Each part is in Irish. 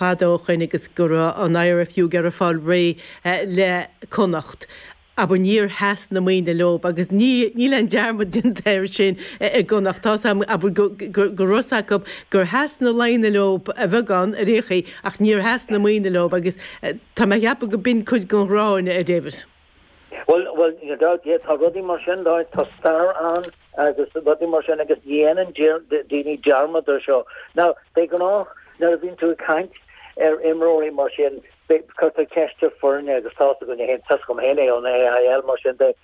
Fada ó shoin agus go raibh an IRFU ag iarraidh fáil réidh le Connacht, abair níor sheas na maoine leob agus ní níl aon dearmad déanta air sin i gConnacht. Tá's a'm, abair, go go raibh 's acu gur sheas na Laighnigh leob a bheagán ar aon chaoi ach níor sheas na maoine leob agus tá mé a cheapadh go b'in cuid den ghráin, a David. Bhuel, bhuel, níl dabht, yeah, tá rudaí mar sin, tá stair ann agus rudaí mar sin agus ní dhéanann daoine dearmad ar seo. Now, de ghnáth, nuair a bhíonn tú ag caint ar imreoirí mar sin, cuirtear ceist ar foirne agus tá's againne féin, tá's agam féin é ón AIL mar sin de,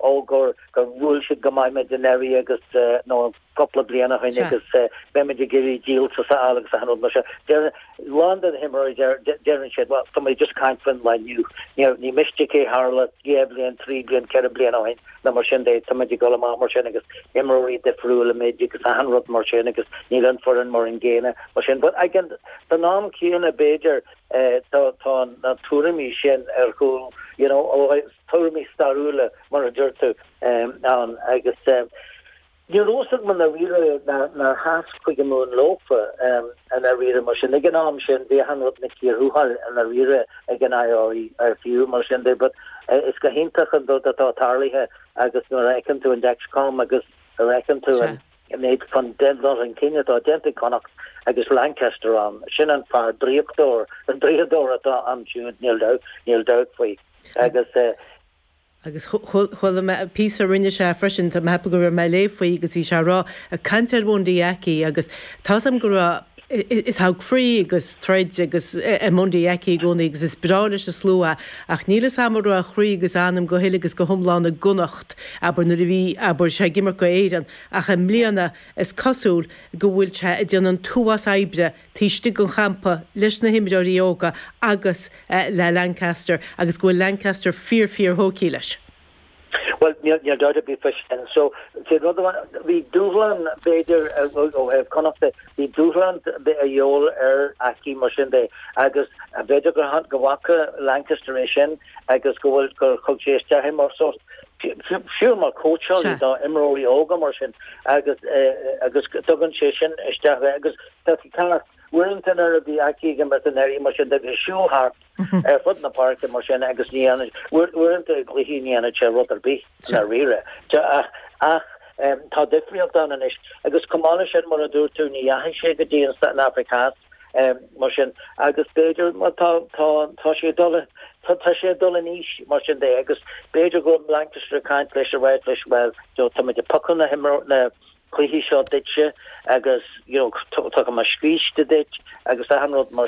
ó gur, gur bhuail siad go maith muid anuraidh agus, nó cúpla bliain ó shin agus beimid ag iarraidh díoltas a fháil agus achan rud mar sin. Deir a lán de na himreoirí, deireann siad, bhuel, tá muid just ag caint faoin lá inniu. Ní miste cé tharla 2 bhliain, 3 bliain, 4 bliain ó shin nó mar sin de, tá muid ag dul amach mar sin agus imreoirí difriúla muid agus achan rud mar sin agus níl an foireann mar an gcéanna mar sin. But ag an am céanna b'fhéidir tá na tuairimí sin ar chúl, you know, tuairimí stairiúla mar a deir tú ann agus Ní raibh fhios agam i ndáiríre nár sheas Cúige Mumhan leofa i ndáiríre mar sin. Ag an am sin bhí achan rud ina cíor thuathail i ndáiríre ag an IRFU mar sin de but is go hiontach an rud atá tarlaithe agus nuair a fheiceann tú an Dexcom agus nuair a fheiceann tú an méid chun dul chun cinn atá déanta ag Connacht agus Lancaster ann, sin an fear draíochtóir, an draíodóir atá ansiúd níl dabht, níl dabht faoi agus. Agus chuala mé píosa a rinne sé freisin, tá mé ag ceapadh go raibh mé ag léamh faoi agus bhí sé ag rá, ag caint ar Bhundy Aki agus tá's agam go raibh, tá croí agus troid agus i mBundy Aki i gcónaí agus is breá leis an slua é ach níl fhios a'm an raibh a chroí agus a anam go huile agus go hiomlán i gConnacht, abair, nuair a bhí, abair, sé ag imirt go Éireann ach i mbliana is cosúil go bhfuil sé ag déanamh an t-uafás oibre taobh istigh den champa leis na himreoirí óga agus le Lancaster agus go bhfuil Lancaster fíor fíor thógtha leis. Bhuel, níl dabht ar bith faoi sin. So, sé rud amháin, bhí dúshlán, b'fhéidir, ó thaobh Connacht de, bhí dúshlán a dhíobháil ar Aki mar sin de agus b'fhéidir go go bhfaca Lancaster é sin agus go bhfuil, gur thug sé isteach é mar sórt, fiú mar cóitseálaí do imreoirí óga mar sin agus agus tugann sé sin isteach é agus Tá tú ceart. Uaireanta nuair a bhí Aki ag imirt anuraidh mar sin de bhí siúl thart ar fud na páirce mar sin agus ní dhéanann, uaireanta i gcluichí ní dhéanann sé rud ar bith i ndáiríre. Ach, ach tá difríocht ann anois. Agus chomh maith leis sin mar a dúirt tú ní dheachaigh sé go dtí an Afraic Theas mar sin agus b'fhéidir má tá, tá, tá sé ag dul, tá, tá sé ag dul in aois mar sin de agus b'fhéidir go bhfuil Lancaster ag caint leis ag ráit leis bhuel, tá muid ag piocadh na himreoirí, na, cluichí seo duitse agus you know tugfaidh mé scíste duit agus achan rud mar.